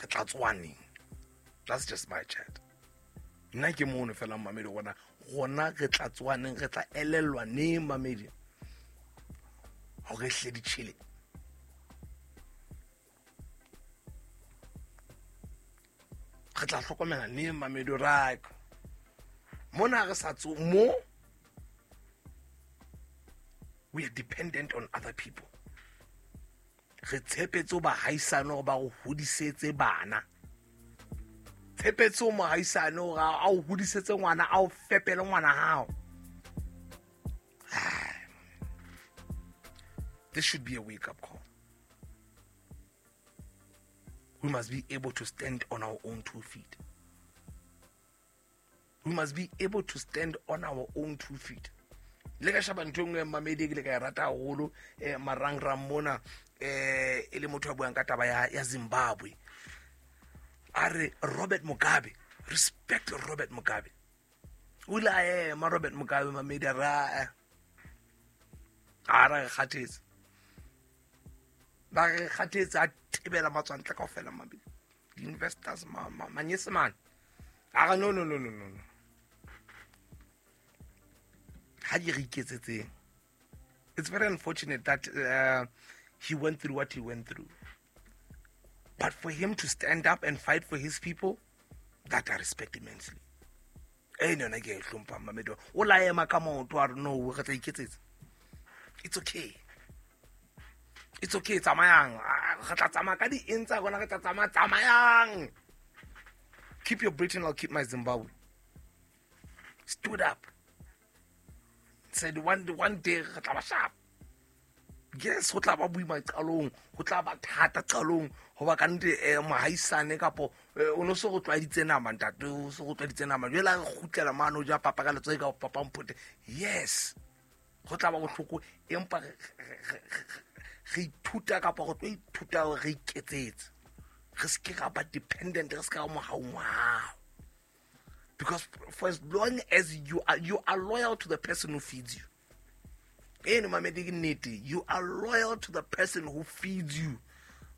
Re tla tsoha neng? That's just my chat. Nna ke mono fela mamedi gona gona re tla tsoha neng, re tla elellwa neng mamedi hore hle di tjhele. Re tla hlokomela neng mamedi ra mona re sa tso mo. We are dependent on other people. Re tshepetse ho bahaisane hore ba re hodisetse bana. Tshepetse ho mohaisane hore a o hodisetse ngwana, a o fepele ngwana hao. This should be a wake-up call. We must be able to stand on our own 2 feet. We must be able to stand on our own 2 feet. Le ka sheba ntho e nngwe mamedi ke le ka e rata haholo, marangrang mona, e le motho a buang ka taba ya Zimbabwe. A re Robert Mugabe, respect Robert Mugabe. O ile a ema Robert Mugabe mamedi a re, a re kgathetse. Ba re kgathetse a tebela matswantle kaofela mamedi. Di-investors, manyesemane. A re no, no, no, no, no, no. Ha di re iketsetseng. It's very unfortunate that he went through what he went through. But for him to stand up and fight for his people, that I respect immensely. Eh, no, no, ke hlompha mamedi. O la ema ka maoto a re no, re tla iketsetsa. It's okay. It's okay, tsamayang. Re tla tsamaya ka di-eng tsa rona, re tla tsamaya, tsamayang. Keep your Britain, I'll keep my Zimbabwe. Stood up. Said one day re tla ba sharp. Yes, ho tla ba boima qalong, ho tla ba thata qalong, hoba ka nnete, mohaisane kapo, o no se go tlwaeditse nama, ntate, o se go tlwaeditse nama. Jwale ha re kgutlela mane o ja papa ka letsoho ka papa mphote. Yes, ho tla ba bohloko, empa re ithuta kapa re tlo ithuta hore re iketsetse. Re se ke ra ba dependent, re se ke ra mohau mohau. Because for as long as you are loyal to the person who feeds you. Eno mamedi ke nnete, you are loyal to the person who feeds you.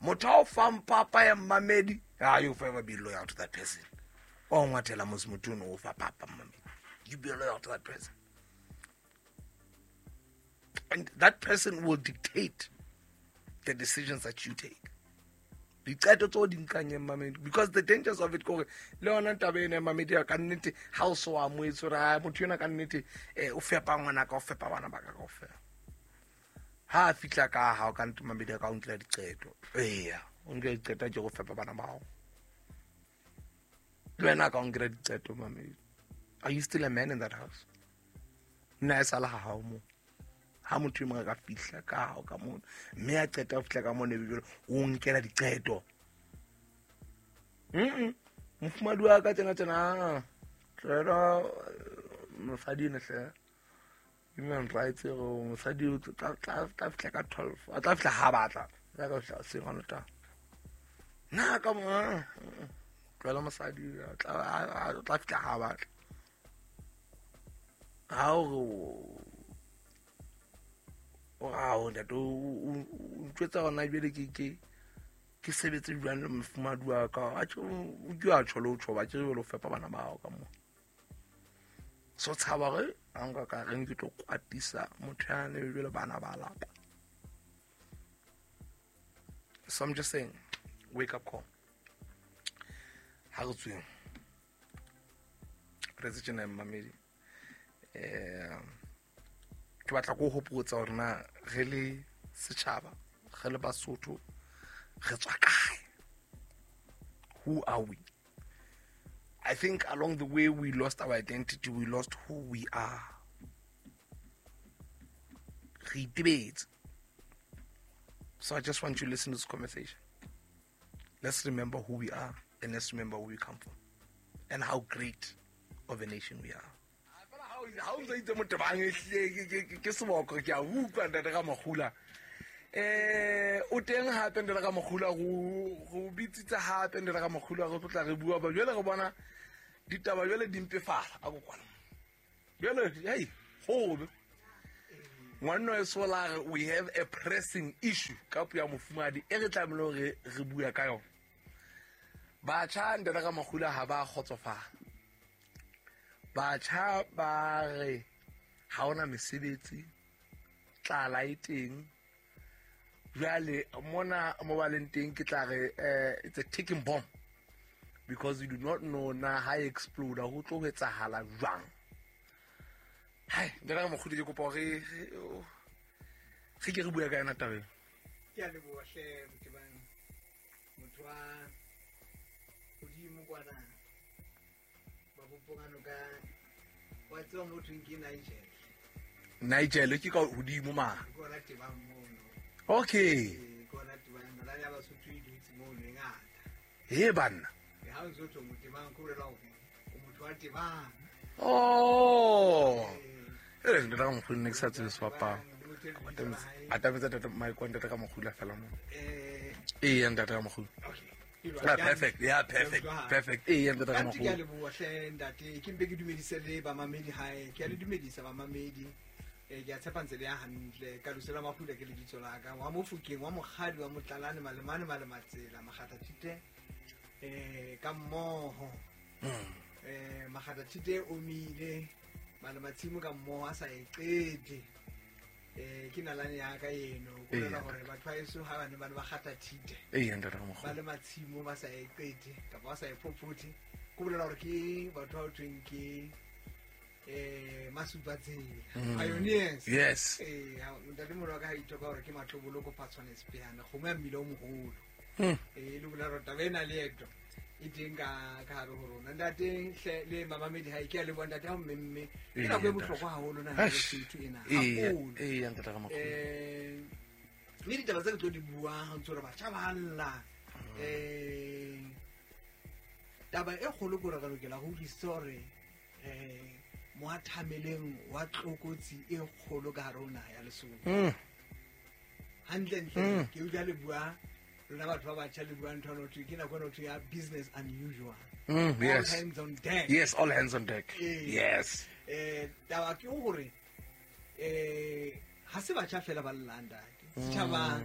Motho a o fang papa ya mamedi, you forever be loyal to that person. O ngwathela mos motho ono o fa papa mamedi. You be loyal to that person. And that person will dictate the decisions that you take. Diqeto tseo di nkang mamedi, because the dangers of it kore le yona taba ena mamedi ya ka nnete ha o so amohetse hore, ah, motho ena ka nnete, o fepa ngwana ka, o fepa bana ba ka kaofela. Ha a fihla ka ha o ka nnete mamedi ya ka o nkela diqeto. Eya, o nkela diqeto ke go fepa bana ba hao. Le wena ka o nkela diqeto mamedi. Are you still a man in that house? Nna e sala ha hao moo. Ha motho e mong a ka fihla ka hao ka mono, mme a qeta ho fihla ka mono, ebe jwale o nkela diqeto. Mofumahadi wa ka tjena tjena, tlohela mosadi ene hle. Human rights re mosadi o tla fihla ka 12, a tla fihla ha batla. Tla ka fihla hoseng hona tla. Nna ka mo, tlohela mosadi, a tla fihla ha batla. Ha o re o ao ntate, o ntjwetsa hona jwale ke sebetse jwang le mofumahadi wa ka? Atjhe, o ke a tjho le ho tjho, ba ke re jwale o fepa bana ba hao ka moo. So tshaba hore ha nka ka reng ke tlo kwatisa motho yane jwale bana ba lapa. So I'm just saying, wake up call. Ha re tsweng. Re tse tjena mmamedi. Ke batla go hopotsa hore na re le setjhaba, re le Basotho, re tswa kae? Who are we? I think along the way we lost our identity, we lost who we are. Re itebetse. So I just want you to listen to this conversation. Let's remember who we are and let's remember where we come from and how great of a nation we are. Ha o ntse itse motebang e hlile ke seboko, ke a utlwa ntate ka Makgula. O teng hape ntate ka Makgula, go bitsitse hape ntate ka Makgula, re tlotla re bua ba jwale re bona ditaba jwale di mpefala a kokwana. Jwale, hey, hobe. Ngwanno e sola re, we have a pressing issue ka puo ya mofumahadi e re tlamehile hore re bua ka yona. Batjha ntate ka Makgula ha ba kgotsofala. Batjha ba re ha hona mesebetsi, tlala e teng. Jwale mona mo ba leng teng ke tla re it's a ticking bomb because you do not know na ha e explode ho tlo ho etsahala jwang. Hai, ntate ka Makgula ke kopa hore re ke re bua ka yona tabeng. Ke a leboha hle Motebang, motho wa hodimo kwana ba bopongano ka wa tseba mo thweng ke Nigel. Nigel ke ka hodimo ma. Ke ona Tebang mono. Okay. Ke ona Tebang, nalane ya Basotho e dutse mono e ngata. He banna. E ha o ntso thwe Motebang ko bolela hore o motho wa Tebang. Oh. E ntate ka Makgula ne ke sa tsebe sebapalo. Atametsa tata Mike wa ntate ka Makgula fela mo. Ee ntate ka Makgula. Okay. Ah, perfect. Yeah, perfect. Perfect. Ee ntate ka Ke a Makgula. leboha hle ntate, ke mpe ke dumedise le bamamedi hae. Ke a le dumedisa bamamedi. Ke a tshepa ntse le ya hantle. Ka Lusela Makgula ke lebitso la ka. Wa Mofokeng, wa Mokgadi, wa Motlalane, Malemane, Malematsela, Makgathathite ka mmoho. Makgathathite o mile, Malematsimo ka mmoho a sa e qete. Ke nalane ya ka eno. Ko bolela hore batho ba heso ha ba ne ba ne ba kgatha thite. Ee ntate ka Makgula. Ba le matshimo ba sa e qete kapa ba sa e phophote. Ko bolela hore ke batho ba ho thweng ke masupatsela. Pioneers. Yes. Ntate moholo wa ka ha ithoka hore ke matloboloko Phatshwane Sepeana, kgomo ya mmila o moholo. Le bolela hore taba ena leeto e teng ka hare ho rona. Ntate hle le mamamedi hae, ke a leboha ntate ha o mmemme. Ke nako e bohlokwa haholo na Lesotho ena. Haholo. Ee ntate ka Makgula. Mme ditaba tse ke tlo di buang ha ntse re batjha ba lla. Taba e kgolo ke hore re lokela ho utlwisisa hore moathameleng wa tlokotsi e kgolo ka hare ho naha ya Lesotho. Hantle ntle ke utlwa le bua lona batho ba batjha le bua ntho eno thwe ke nako eno thwe ya business unusual. Yes. All hands on deck. Yes, all hands on deck. Yes. Taba ke hore ha se batjha fela ba llang ntate. Setjhaba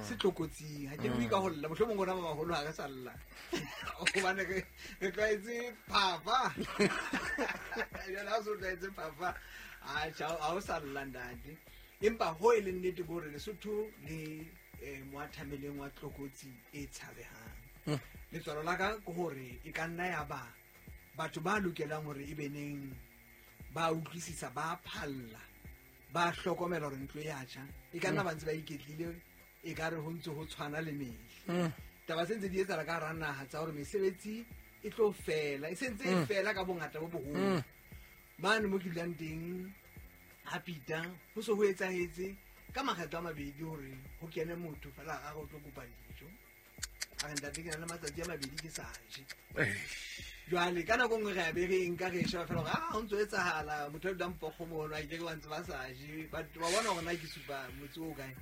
se tlokotsing. Ha ke bue ka ho lla, mohlomong rona ba baholo ha re sa lla. Hobane re tlwaetse phafa. Jwale ha o so tlwaetse phafa, atjhe, ha o sa lla ntate. Empa ho e leng nnete ke hore Lesotho le moathameleng wa tlokotsi e tshabehang. Letswalo la ka ke hore e ka nna ya ba batho ba lokelang hore e be neng ba utlwisisa, ba phalla, ba hlokomela hore ntlo e a tjha. E ka nna ba ntse ba iketlile, e ka re ho ntse ho tshwana le mehla. Taba tse ntse di etsahala ka hara naha tsa hore mesebetsi e tlo fela, e sentse e fela ka bongata bo boholo. Mane mo ke dulang teng ha Pita, ho so ho etsahetse ka makgetlo a mabedi hore ho kene motho fela a re o tlo kopa dijo. A re ntate ke na le matsatsi a mabedi ke sa je. Jwale ka nako nngwe re a be re nka re sheba fela hore ho ntso etsahala, motho a dulang Pokgo mono, a ke ke ba ntse ba sa je. Batho ba bona hore na ke supa motse o kae.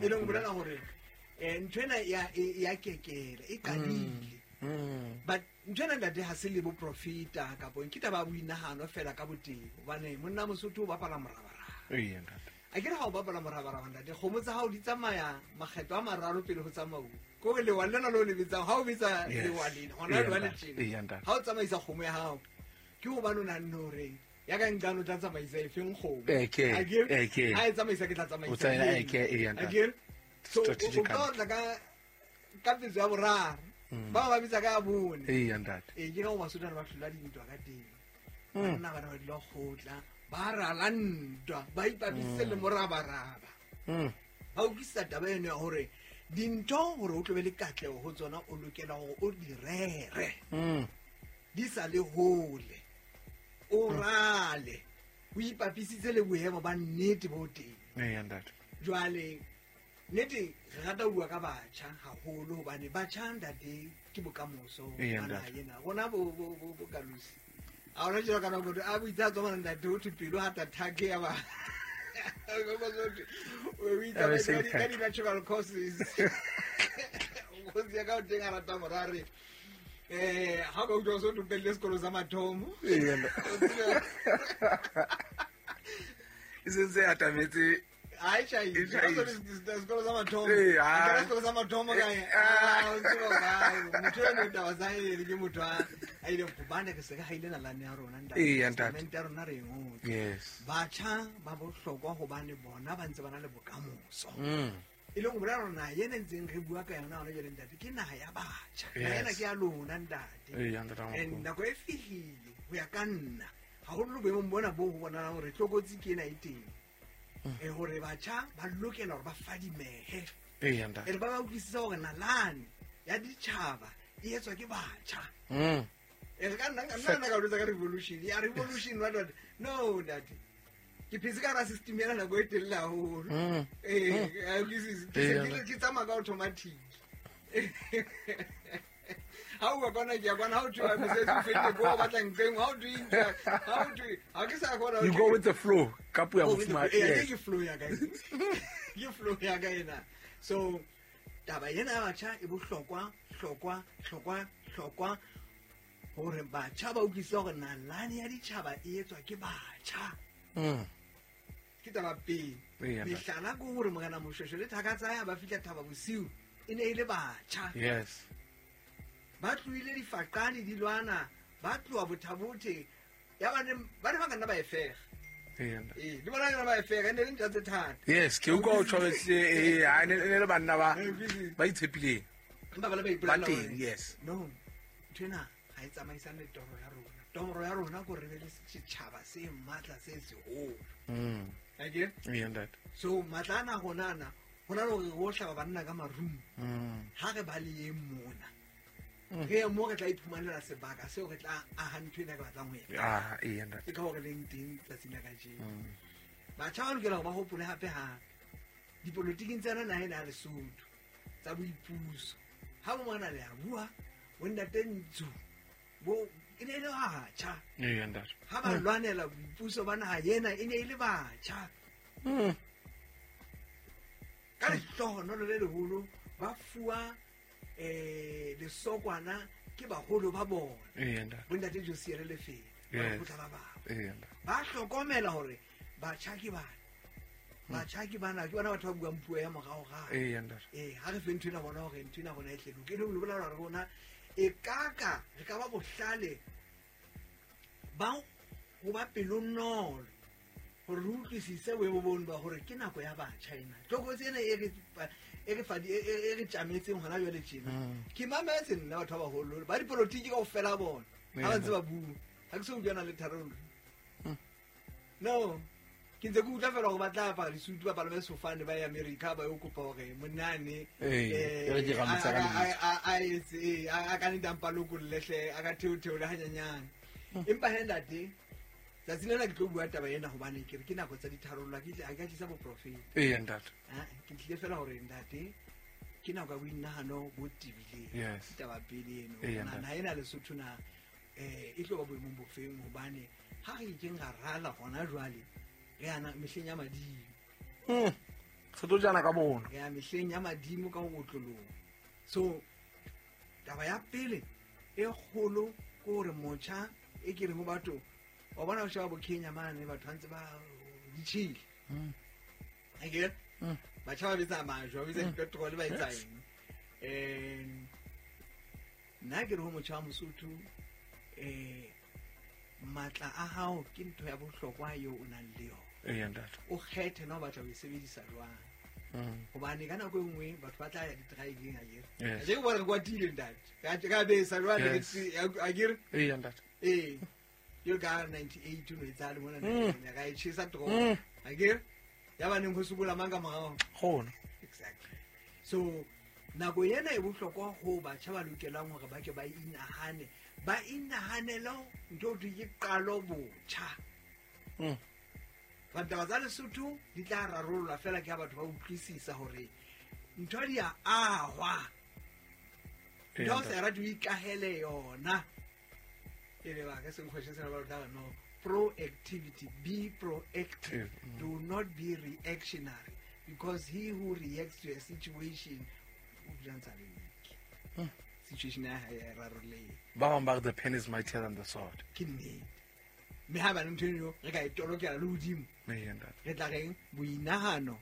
E leng ho bolela hore ntho ena ya kekela, e qadile. But ntho ena ntate ha se le boprofeta kapa ke taba ya boinahano fela ka botebo, hobane monna Mosotho o bapala morabaraba. Ee, ntate. A ke re ha o bapala morabaraba ntate, kgomo tsa hao di tsamaya makgetlo a mararo pele ho tsamauwa. Ke hore lewa lena le o le betsang, ha o betsa lewa lena, hona jwale tjena. Ha o tsamaisa kgomo ya hao, ke hobane o nahanne hore ya ka nqane o tla tsamaisa e feng kgomo. A ke ha e tsamaisa ke tla tsamaisa. A ke so o ka tla ka pitso ya boraro. Ba bitsa ka ya bone. Ee, ntate. Ke ka ho Basotho ba hlola dintwa ka teng. Banna ba ne ba dula kgotla, ba rala ntwa, ba ipapisitse le morabaraba. Ba utlwisisa taba eno ya hore dintho hore o tlo be le katleho ho tsona o lokela hore o di rere. Di sa le hole. O rale. O ipapisitse le boemo ba nnete bo teng. Ee, ntate. Jwale nnete re rata ho bua ka batjha haholo hobane batjha ntate ke bokamoso ba naha ena. Rona bo Kalusi. A hona jwalo ka nako a boitse tswa mona ntate ho thwe pelo ha ta thake ya ba. O itse ka di natural causes. Kgosi ya ka o teng a rata morare. Ha ka utlwa so tupelle sekolo sa mathomo. Ee. E sentse atametse Ai tjhai. Sekolo sa mathomo. Ke sekolo sa mathomo ka eng? Ah, o tseba ba. Motho eno taba tsa hae ke motho a ile hobane re se re haile nalane ya rona ntate. Testamente ya rona re e ngotse. Yes. Batjha ba bohlokwa hobane bona ba ntse ba na le bokamoso. E leng ho bolela hore naha ena ntseng re bua ka yona hona jwale ntate ke naha ya batjha. Naha ena ke ya lona ntate. And nako e fihlile ho ya ka nna haholo boemong bona bo ho bonahalang hore tlokotsi ke ena e teng. Hore batjha ba lokela hore ba fadimehe. E re ba ba utlwisisa hore nalane ya ditjhaba e etswa ke batjha. E re ka nna nna ka botsa ka revolution. Ya revolution what what. No ntate. Ke phetse ka hara system ena nako e telele haholo. Ke tsamaya ka automatic. Ha o kwana ke ya kwana, ha o thwe mosebetsi o fedile, ko o batlang teng, ha o thwe ha o thwe, ha ke sa kgona. You go with the flow. Ka puo ya mofumahadi. Ke flow ya ka. Ke flow ya ka ena. So taba ena ya batjha e bohlokwa, hlokwa, hlokwa, hlokwa hore batjha ba utlwisise hore nalane ya ditjhaba e etswa ke batjha. Ke taba pele. Mehlala ke hore Morena Moshweshwe le thaka tsa hae ba fihla Thaba Bosiu e ne e le batjha. Yes. Ba tlohile difaqane di lwana, ba tloha Bothabothe, ya ba ne ba ka nna ba e fega. Le bona yona ba e fega, e ne le ntja tse thata. Yes, ke utlwa o tshwabetse, ha ne le banna ba ba itshepileng. Empa ba le ba ipolela Ba teng, yes. No, ntho ena ha e tsamaisane le toro ya rona. Toro ya rona ke hore re be le setjhaba se matla se seholo. Akere? Ntate. So matla ana rona ana, ho na le hore re o hlaba banna ka marumo. Ha re ba le eng mona. Re mo re tla iphumanela sebaka seo re tla aha ntho ena re batlang ho etsa. Ah, ntate. Ke ka hore leng teng tsatsing la kajeno. Batjha ba lokela hore ba hopole hape hape. Dipolotiking tsena naha ena ya Lesotho tsa boipuso. Ha bo mona le a bua, bo ntate Ntsu, bo e ne e le batjha. Ntate. Ha ba lwanela boipuso ba naha ena e ne e le batjha. Ka lehlohonolo le leholo ba fuwa lesokwana ke baholo ba bona. Bo ntate Josia le Lefele, ba lekgotla la bang. Ba hlokomela hore batjha ke bana. Batjha ke bana, ke bona batho ba buang puo ya moraorao. Ha re fe ntho ena bona hore ntho ena rona e tle loke. E le ho bolela hore rona e kaka re ka ba bohlale ba ho ba pelonolo hore re utlwisise boemo bono ba hore ke nako ya batjha ena. Tlokotsi ena e re tjametseng hona jwale tjena. Ke mametse nna batho ba baholo ba dipolotiki kaofela bona ha ba ntse ba bua. Ha ke so utlwana le tharollo. No, ke ntse ke utlwa feela hore ba tla apara disutu, ba palame sefofane ba ye America ba yo kopa hore monnane a etse a ka nne a mpa lokolle hle, a ka theotheole hanyenyane. Empa he ntate, tsatsi lena ke tlo bua taba ena hobane ke re ke nako tsa ditharollo, ha ke ka tlisa boprofeta. Ntate. Ke tlile fela hore ntate ke nako ya boinahano bo tebileng. Yes. Taba pele eno. Naha ena Lesotho na e tlo ba boemong bofeng hobane ha re ikeng ra rala hona jwale re yana mehleng ya madimo. Re tlo jana ka bona. Re ya mehleng ya madimo ka ho otloloha. So taba ya pele e kgolo ke hore motjha e ke reng ho batho wa bona o sheba bo Kenya mane batho ba ntse ba ditjhile. Akere? Batjha ba betsa majwe, ba betsa dipetrole, ba etsa eng. Nna ke re ho motjha wa Mosotho, matla a hao ke ntho ya bohlokwa eo o nang le yona. Ntate. O kgethe na o batla ho e sebedisa jwang. Hobane ka nako e nngwe batho ba tla ya di-driving akere. Yes. Akere ke bona re kwatile ntate. Ka besa jwale, akere? Ntate. Jwalo ka 98 o no etsahale mona naheng ya ka e tjhesa toropo. Akere? Ya ba neng ho sokola mang ka morao? Kgona. Exactly. So nako ena e bohlokwa ho batjha ba lokelang hore ba ke ba inahane. Ba inahanele ntho e ke qalo botjha. Ditaba tsa Lesotho di tla rarollwa fela ke ha batho ba utlwisisa hore ntho di a ahwa. Ntho o sa rate o ikahele yona. E le ba ka se nkgweshe sena ba tla no proactivity, be proactive. Do not be reactionary, because he who reacts to a situation o dula ntse a le weak. Situation ya hae ya rarolleha. Ba bang ba re the pen is mightier than the sword. Ke nnete. Mme ha ba ntho eno re ka e tolokela le hodimo. Re tla reng boinahano.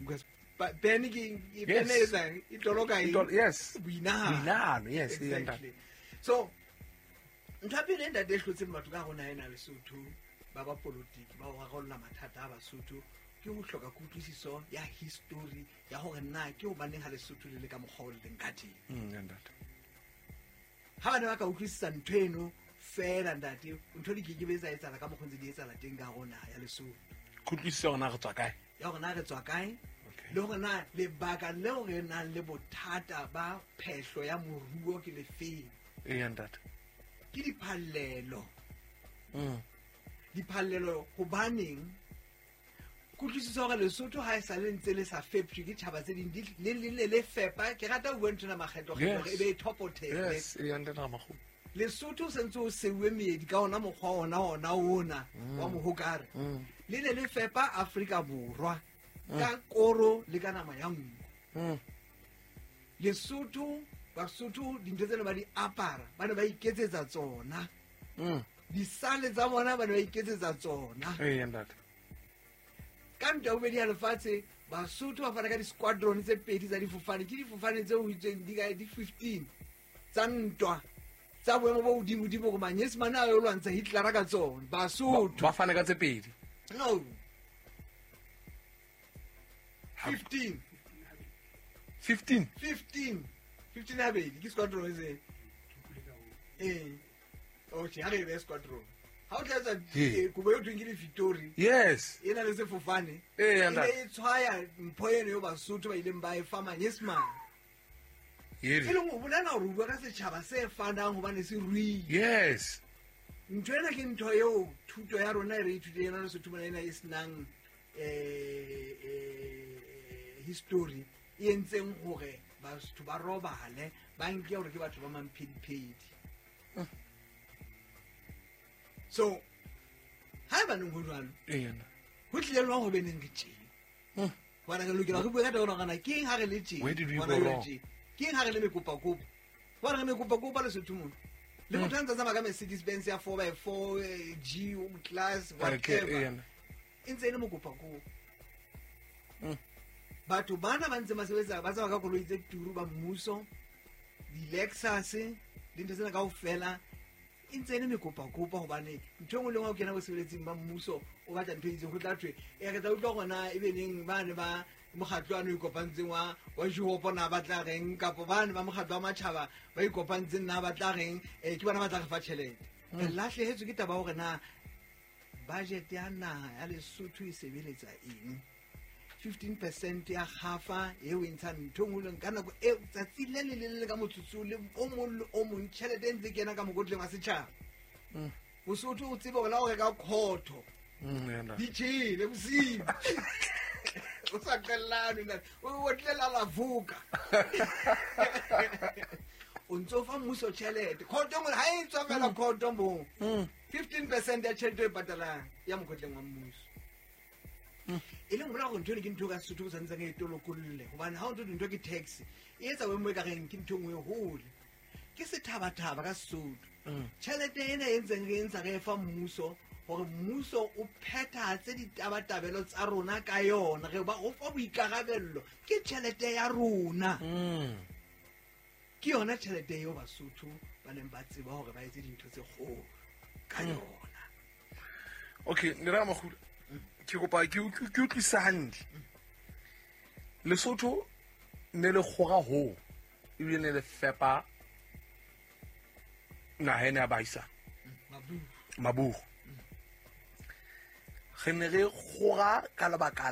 Because pen ke pen e etsang e toloka eng? Yes. Boinahano. Boinahano, yes. Exactly. So ntho ya pele e ntate e hlotseng batho ka rona ena Lesotho ba ba politiki ba ho rarolla mathata a Basotho ke ho hloka kutlwisiso ya history ya hore na ke hobaneng ha Lesotho le le ka mokgwa o le leng ka teng. Ha ba ne ba ka utlwisisa ntho eno fela ntate, ntho di keke be tsa etsahala ka mokgwa o ntse di etsahala teng ka hare ho naha ya Lesotho. Kutlwisiso ya hore na re tswa kae? Ya hore na re tswa kae, le hore na lebaka leo re nang le bothata ba phehlo ya moruo ke lefeng. Eya ntate. Ke diphallelo. Diphallelo hobaneng? Kutlwisiso hore Lesotho ha e sa le ntse le sa feptjwe ke tjhaba tse ding, le le le fepa. Ke rata ho bua nthwena makgetlo-kgetlo hore e be e thopothele. Yes, eya ntate Ramakgopa. Lesotho se ntse o seuwe meedi ka ona mokgwa ona ona ona wa mohokare. Le ne le fepa Afrika Borwa ka koro le ka nama ya nku. Lesotho, Basotho dintho tsena ba di apara, ba ne ba iketsetsa tsona. Disale tsa bona ba ne ba iketsetsa tsona. Eya ntate. Ka ntwa ya bobedi ya lefatshe, Basotho ba fana ka di-squadron tse pedi tsa difofane. Ke difofane tse ho itsweng di ka di 15 tsa ntwa tsa boemo bo hodimo-dimo hore Manyesemane a yo lwantsha Hitler ka tsona. Basotho. Ba fane ka tse pedi? No. 15. 15? 15. 15 habedi, ke squadron e se. Okay, ha re e behe squadron. Ha o tla etsa kobo eo thweng ke di-Victory. Yes. E na le sefofane. Eya, E ne ntate. e tshwaya mpho eno eo Basotho ba ileng ba e fa Manyesemane. Yeri. E leng ho bolela hore o bua ka setjhaba se fanang hobane se ruile. Yes. Ntho ena ke ntho eo thuto ya rona e re ithutile yona Lesotho mona ena e senang, history e entseng hore batho ba robale, ba nke hore ke batho ba mamphediphedi. So ha eba neng ho jwalo, Eya, nna. ho tlile jwang ho be neng re tjena? Hobane re lokela re bue ka taba ena hore na ke eng ha re le tjena? Where did we Hobane go re le wrong? tjena. Ke eng ha re le mekopakopa? Hobane re mekopakopa Lesotho mona. Le motho a ntse a tsamaya ka Mercedes Benz ya four by four, G class, Okay, whatever. eya, nna. E ntse e le mokopakopa. Batho bana ba ntse ba sebetsa, ba tsamaya ka koloi tse turu ba mmuso, di-Lexus, dintho tsena kaofela, e ntse e le mekopakopa hobane ntho e nngwe le nngwe ha o kena bosebeletsing ba mmuso, o batla ntho e itseng, ho tla thwe, re tla utlwa hore na ebe neng bane ba mokgatlo ano ikopantseng wa Juhopo na ba tla reng, kapa bane ba mokgatlo wa matjhaba ba ikopantseng na ba tla reng, ke bona ba tla re fa tjhelete. Re lahlehetswe ke taba ya hore na budget ya naha ya Lesotho e sebeletsa eng. 15% ya kgafa eo e ntshang ntho e nngwe le nngwe ka nako eo, tsatsi le leng le le leng ka motsotso le o mong le o mong, tjhelete e ntse e kena ka mokotleng wa setjhaba. Mosotho o tsebe hore la ho reka khotho. Yeah, nna. Di tjhele bosiu. O sa qellane, nna. O otlela la vuka. O ntso fa mmuso tjhelete. Khotho nngwe ha e tswa fela khotho moo. 15% ya tjhelete e patalang ya mokotleng wa mmuso. E leng hore ntho eno ke ntho e ka Sesotho o santseng e tolokolle, hobane ha o ntho dintho ke tax, e etsa boemo e ka reng ke ntho e nngwe e hole. Ke sethabathaba ka Sesotho. Tjhelete ena e ntseng re e ntsha re e fa mmuso hore mmuso o phethahatse ditabatabelo tsa rona ka yona, re ba o fa boikarabello, ke tjhelete ya rona. Ke yona tjhelete eo Basotho ba neng ba tseba hore ba etse dintho tse kgolo ka yona. Okay, Ntate Ramakgola, ke kopa ke utlwisise hantle. Lesotho ne le kgora hoo, ebile ne le fepa naha ena ya baahisane. Maburu. Re ne re kgora ka lebaka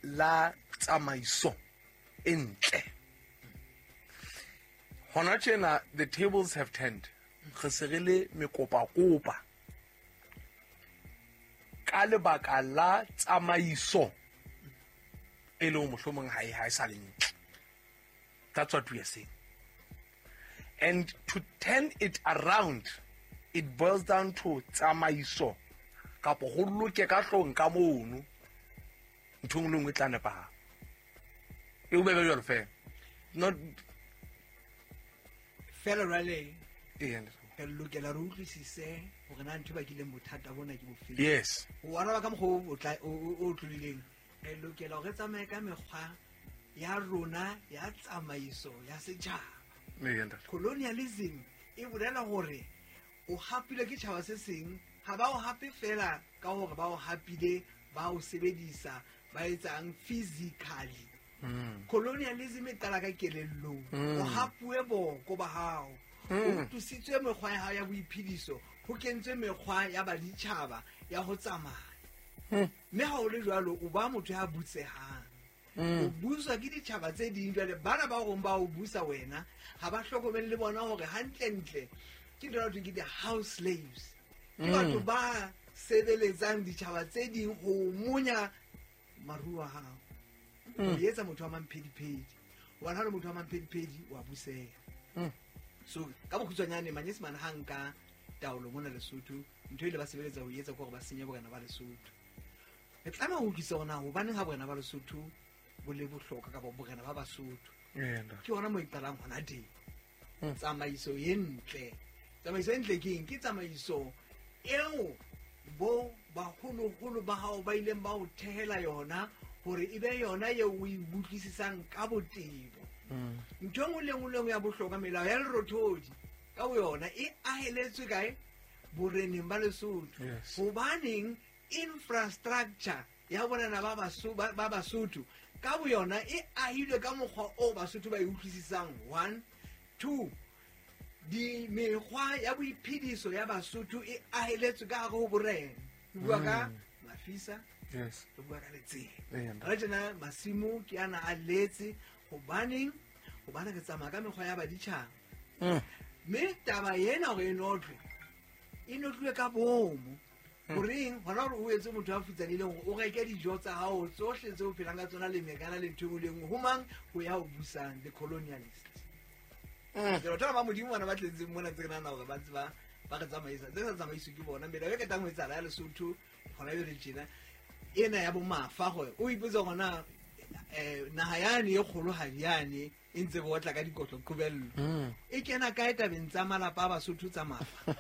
la tsamaiso e ntle. Hona tjena the tables have turned. Re se re le mekopakopa ka lebaka la tsamaiso e leng mohlomong ha e sa le ntle. That's what we are saying. And to turn it around, it boils down to tsamaiso kapo ho loke ka hlong ka mono, ntho e nngwe le nngwe e tla nepahala. E o bebe jwalo fela. Not Fela jwale. Ee, ntate. Re lokela re utlwisise hore na ntho e bakileng bothata bona ke bofeng. Yes. O araba ka mokgwa o tla o tlolileng. Re lokela hore re tsamaye ka mekgwa ya rona ya tsamaiso ya setjhaba. Ee, ntate. Colonialism e bolela hore o hapilwe ke tjhaba se seng, ha ba o hape fela ka hore ba o hapile, ba o sebedisa, ba etsang physically. Colonialism e qala ka kelellong. O hapuwe boko ba hao. O tlositswe mekgwa ya hao ya boiphediso, ho kentswe mekgwa ya baditjhaba ya ho tsamaya. Mme ha o le jwalo, o ba motho ya butsehang. O buswa ke ditjhaba tse ding. Jwale bana ba rong ba o busa wena, ha ba hlokomele le bona hore hantlentle ke ntho e thweng ke the-house slaves. Ke batho ba sebeletsang ditjhaba tse ding ho monya maruo a hao. O etsa motho wa mamphediphedi. Hobane ha o le motho wa mamphediphedi, wa buseha. So ka bokgutshwanyane, manyesemane ha nka taolo mona Lesotho, ntho e ile ba sebeletsa ho etsa ke hore ba senye borena ba Lesotho. Re tlameha ho utlwisisa hore na hobaneng ha borena ba Lesotho bo le bohlokwa kapa borena ba Basotho. Ee, ntate. Ke hona moo e qalang hona teng. Tsamaiso e ntle. Tsamaiso e ntle ke eng? Ke tsamaiso eo bo baholoholo ba hao ba ileng ba o thehela yona hore e be yona eo o e utlwisisang ka botebo. Ntho e nngwe le nngwe le nngwe ya bohlokwa, melao ya lerothodi ka boyona e aheletswe kae? Boreneng ba Lesotho. Yes. Hobaneng infrastructure ya borena ba ba Basotho ka boyona e ahilwe ka mokgwa o Basotho ba e utlwisisang. 1, 2, di mekgwa ya boiphediso ya Basotho e aheletswe ka hare ho borena. Ke bua ka Mafisa, Yes. re bua ka Letseng. Ee, ntate. Re tjena masimo ke ana a letse. Hobaneng? Hobane re tsamaya ka mekgwa ya baditjhaba. Mme taba ena hore e notlwe, e notlwe ka bomo. Horeng? Hona hore o etse motho a futsanehileng hore o reke dijo tsa hao tsohle tseo o phelang ka tsona le mekana le ntho e nngwe le e nngwe. Ho mang? Ho ya o busang, the colonialist. Ke batho ba Modimo bana ba tletseng mona tse re nahana hore ba ntse ba re tsamaisa. Tse sa tsamaiswe ke bona. Melao e qetang ho etsahala ya Lesotho hona jwale tjena, ena ya bo mafa hore o ipotse hore na, naha yane e kgolohadi yane e ntse bo otla ka dikotlo qobello. E kena kae tabeng tsa malapa a Basotho tsa mafa?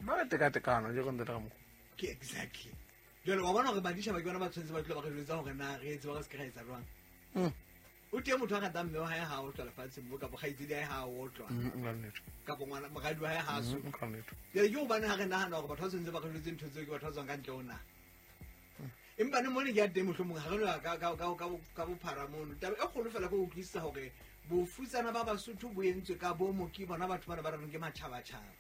Ba re tekatekano, je go ntate ka mokgwa. Ke exactly. Jwale wa bona hore baditjhaba ke bona ba tshwanetse ba tloha ba re jwetsa hore na re etse ba re se ke ra etsa jwang. O teng motho a ratang mme wa hae ha a otlwa lefatsheng mo, kapa kgaitsedi ya hae ha a otlwa. Ka nnete. Kapa ngwana, moradi wa hae ha a so. Ka nnete. Jwale ke hobane ha re nahana hore batho ba tshwanetse ba re jwetse ntho tseo ke batho ba tswang ka ntle ho naha. Empa ne mone ke ya teng mohlomong ha re no ya ka bophara mono. Taba e kgolo fela ke ho utlwisisa hore bofutsana ba Basotho bo entswe ka bomo ke bona batho bana ba re reng ke matjhabatjhaba.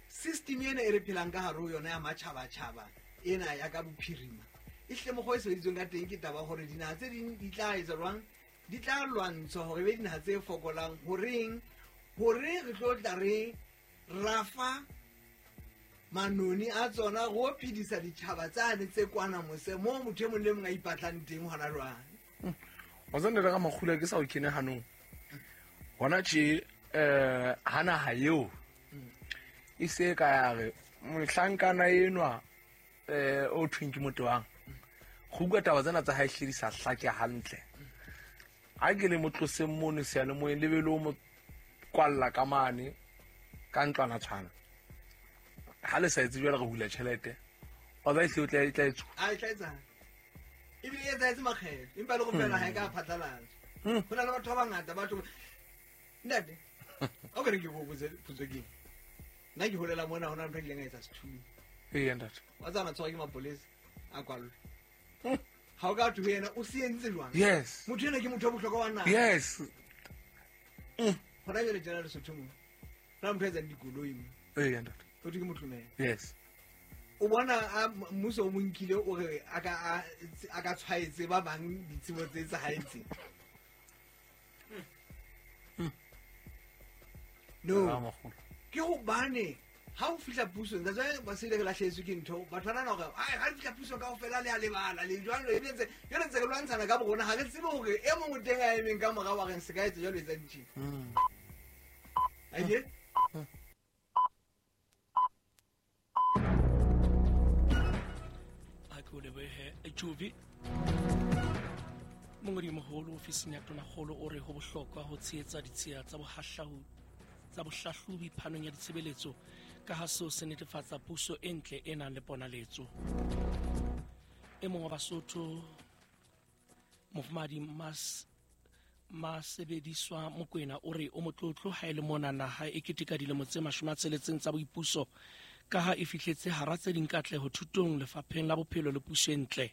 System ena e re phelang ka hare ho yona ya matjhabatjhaba ena ya ka bophirima, e hle mokgwa e sebeditsweng ka teng ke taba hore dinaha tse ding di tla etsa jwang? Di tla lwantshwa hore e be dinaha tse fokolang. Horeng? Hore re tlo tla re rafa manoni a tsona go phedisa ditjhaba tsane tse kwana mose moo motho e mong le mong a ipatlang teng hona jwale. Wa tseba ntate ka makgula ke sa o kene hanong. Hona tje, ha naha eo e se ka ya re mohlankana enwa, o thweng ke motho wang. Go bua taba tsena tsa hae hle di sa hlake hantle. Ha ke le mo tloseng mono seyalemoyeng, le be le o mo kwalla ka mane ka ntlwana tshwana. Ha le sa etse jwale re hula tjhelete. Wa ba ehlile o tla e tla etsuwa. A e tla etsang? Ebile e etsahetse makgetlo, empa le go fela ha e ka phatlalatsa. Ho na le batho ba bangata ba tlo Ntate, o ka re ke go botse potso ke eng? Nna ke holela mona, ho na le ntho e kileng a etsa sethunya. Ee, ntate. Wa tseba na tshwarwa ke mapolesa a kwallwe. Ha o ka thwe ho yena, o se entse jwang? Yes. Motho enwa ke motho wa bohlokwa wa naha. Yes. Hona jwale tjena Lesotho mo, ho na le motho a etsang dikoloi mo. Ee, ntate. Ho thwe ke Motlomela. Yes. O bona a mmuso o mo nkile o re a ka tshwaetse ba bang ditsebo tse etsahetseng. No. Ba makgolo. Ke hobane ha o fihla pusong, that's why ba se le re lahlehetswe ke ntho. Batho ba nahana hore, ai, ha re fihla pusong kaofela le a lebala, le jwalo, ebile ntse, jwale ntse re lwantshana ka borona, ha re tsebe hore e mong o teng a emeng ka morao wa reng se ka etsa jwalo, etsa ntjhe. Ake? Ha ke o lebohe, Jovi. Mongodi-moholo ofising ya Tonakgolo o re ho bohlokwa ho tshehetsa ditshiya tsa bohlahlobi phanong ya ditshebeletso ka ha seo se netefatsa puso e ntle e nang le ponaletso. E mong wa Basotho Mofumahadi Masebediswa Mokwena o re o motlotlo ha e le mona naha e keteka dilemo tse 60 tsa boipuso ka ha e fihletse hara tse ding katleho thutong lefapheng la bophelo le puso e ntle.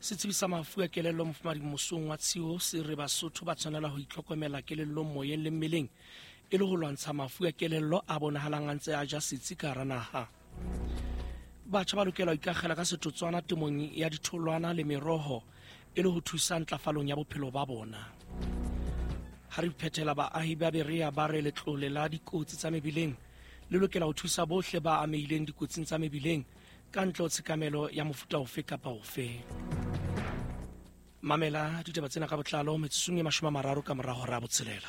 Setsebi sa mafu a kelello Mofumahadi Mosong wa Tshiwo se re Basotho ba tshwanela ho itlhokomela kelellong, moyeng le mmeleng e le ho lwantsha mafu a kelello a bonahalang a ntse a ja setsi ka hara naha. Batjha ba lokela ho ikakgela ka setotswana temong ya ditholwana le meroho e le ho thusa ntlafalong ya bophelo ba bona. Ha re phethela, baahi ba Berea ba re letlole la dikotsi tsa mebileng le lokela ho thusa bohle ba amehileng dikotsing tsa mebileng ka ntle ho tshekamelo ya mofuta ofe kapa ofe. Mamela ditaba tsena ka botlalo metsotsong e 30 ka mora hora ya 6.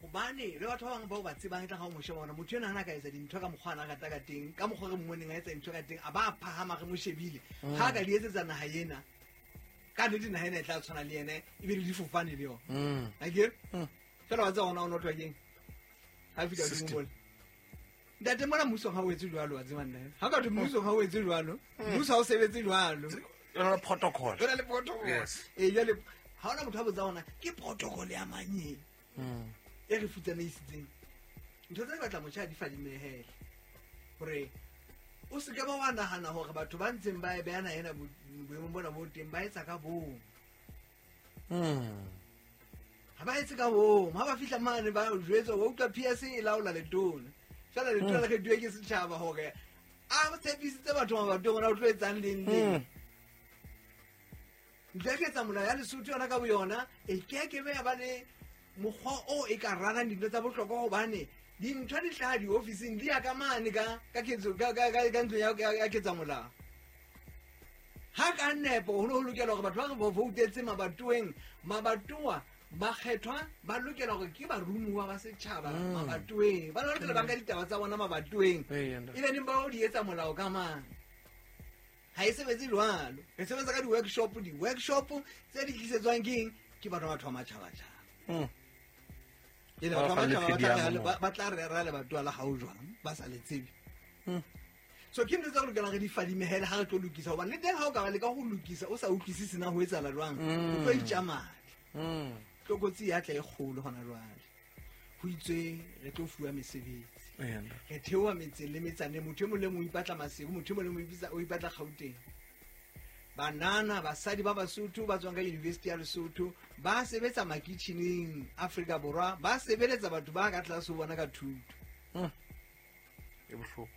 Hobane le batho ba bang bao ba tsebang e tla ga o mo sheba bona motho ena ha ka etsa dintho ka mokgwa ana rata ka teng, ka mokgwa re mmoneng a etsa dintho ka teng, a ba phahama re mo shebile. Ha ka di etsetsa naha ena, ka nnete naha ena e tla tshwana le yena, e be le difofane le yona. Akere? Fela wa tseba hona o notwa keng? Ha fihla hodimo mole. Ntate mona mmuso ha o etse jwalo, wa tseba nna. Ha ka thwe mmuso ha o etse jwalo, mmuso ha o sebetse jwalo. Yona protocol. Yona le protocol. Yes. Jwale ha hona motho a botsa hona ke protocol ya mang e? E re futsaneisitseng. Ntho tse batla motjha di fadimehele. Hore o se ke ba wa nahana hore batho ba ntseng ba e beana ena boemong bona bo teng ba etsa ka bong. Ha ba etse ka bong, ha ba fihla mane ba jwetsa wa utlwa PS e laola letona. Fela letona le kgethuwe ke setjhaba hore a tshepisitse batho mabatong ona o tlo etsang leng leng. Ntho ya ketsa molao ya Lesotho yona ka boyona e keke be ya ba le mokgwa o e ka ralang dintho tsa bohlokwa hobane dintho di hlaha diofising di ya ka mane ka ketso ka ntlong ya ketsa molao. Ha ka nepo ho ne ho lokela hore batho ba re voutetse mabatoweng, mabatowa ba kgethwa ba lokela hore ke barumuwa ba setjhaba mabatoweng. Ba lokela ba nka ditaba tsa bona mabatoweng. E be neng ba o di etsa molao ka mang? Ha e sebetse jwalo. Re sebetsa ka di-workshop, di-workshop tse di tlisetswang ke eng? Ke batho ba matjhabatjhaba. E le batho ba matjhaba ba tla rera le batho la hao jwang ba sa le tsebe. So ke ntho tsa re lokelang re di fadimehele ha re tlo lokisa, hobane le teng ha o ka ba leka ho lokisa o sa utlwisise na ho etsahala jwang, o tlo itja madi. Tlokotsi ya tla e kgolo hona jwale. Ho itswe re tlo fuwa mesebetsi. Re theoha metseng le metsaneng, motho e mong le mong o ipatla Maseru, motho e mong le mong o ipatla Gauteng. Banana, basadi ba Basotho ba tswang ka University ya Lesotho ba sebetsa makitjheneng Afrika Borwa, ba sebeletsa batho ba ka tlase ho bona ka thuto. E bohloko.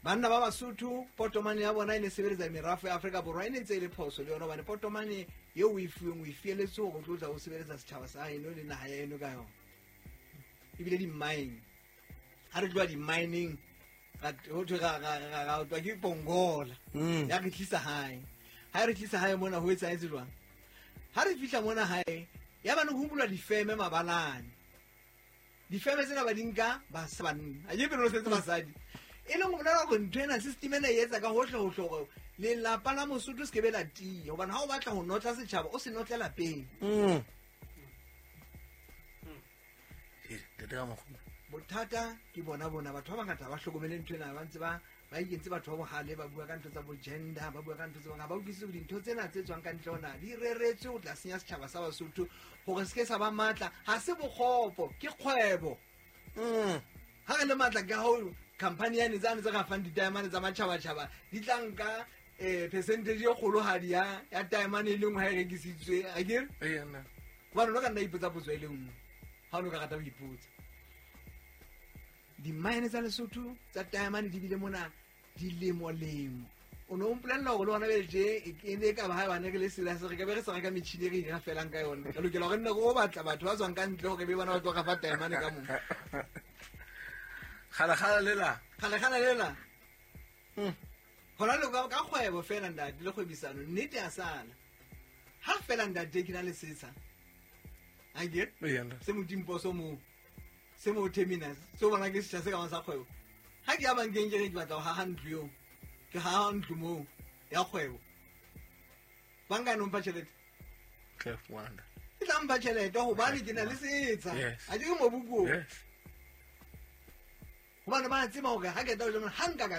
Banna ba Basotho potomane ya bona e ne sebeletsa merafo ya Afrika Borwa, e ne ntse e le phoso le yona hobane potomane eo o e fuweng o e fieletse hore o tlo tla o sebeletsa setjhaba sa heno le naha ya heno ka yona. Ebile di-mine, ha re tloha di-mining ho thwe ra utlwa ke Pongola ya re tlisa hae. Ha re tlisa hae mona ho etsahetse jwang? Ha re fihla mona hae ya bane ho bulwa difeme mabalane. Difeme tsena ba di nka banna, a ke pele ho setse basadi. E leng ho bolela hore ntho ena system ena e etsa ka hohle hohle hore lelapa la Mosotho se ke be la tiya, hobane ha o batla ho notla setjhaba o se notle lapeng. Bothata ke bona bona batho ba bangata ba hlokomele ntho ena, ba ntse ba ikentse batho ba bohale, ba bua ka ntho tsa bo gender, ba bua ka ntho tse bang, ha ba utlwisise hore dintho tsena tse tswang ka ntle hona di reretswe ho tla senya setjhaba sa Basotho hore se ke sa ba matla. Ha se bokgopo, ke kgwebo. Ha re le matla ke hao company yane tsane tse ka fang di-diamond tsa matjhabatjhaba di tla nka percentage e kgolohadi ya diamond e le nngwe ha e rekisitswe, akere? Hobane o ka nna ipotsa potso e le nngwe ha o no ka rata ho ipotsa. Di-mine tsa Lesotho tsa diamond di bile mona dilemo-lemo. O no mpolella hore le hona bjale tje e ne e ka ba ha bane re le serious, re ka be re sa reka metjhini e re e felang ka yona. Re lokela hore nne re o batla batho ba tswang ka ntle hore be bona ba tlo re fa diamond ka moo. Kgale-kgale lela. Kgale-kgale lela. Hona le ka kgwebo fela ntate le kgwebisano, nnete ya sala. Ha fela ntate ke na le setsha. Akere? Se Motimposo moo. Se mo terminus, se o bona ke setjha se ka bang sa kgwebo. Ha ke ya bankeng ke re ke batla ho haha ntlo eo, ke haha ntlo moo. ya kgwebo, banka e no mpha tjhelete. Tla fumana. E tla mpha tjhelete hobane ke na le setsha. Yes. Ha ke ke mobu ko. Yes. Hobane ba tseba hore ha ke tla ho jana, ha nka ka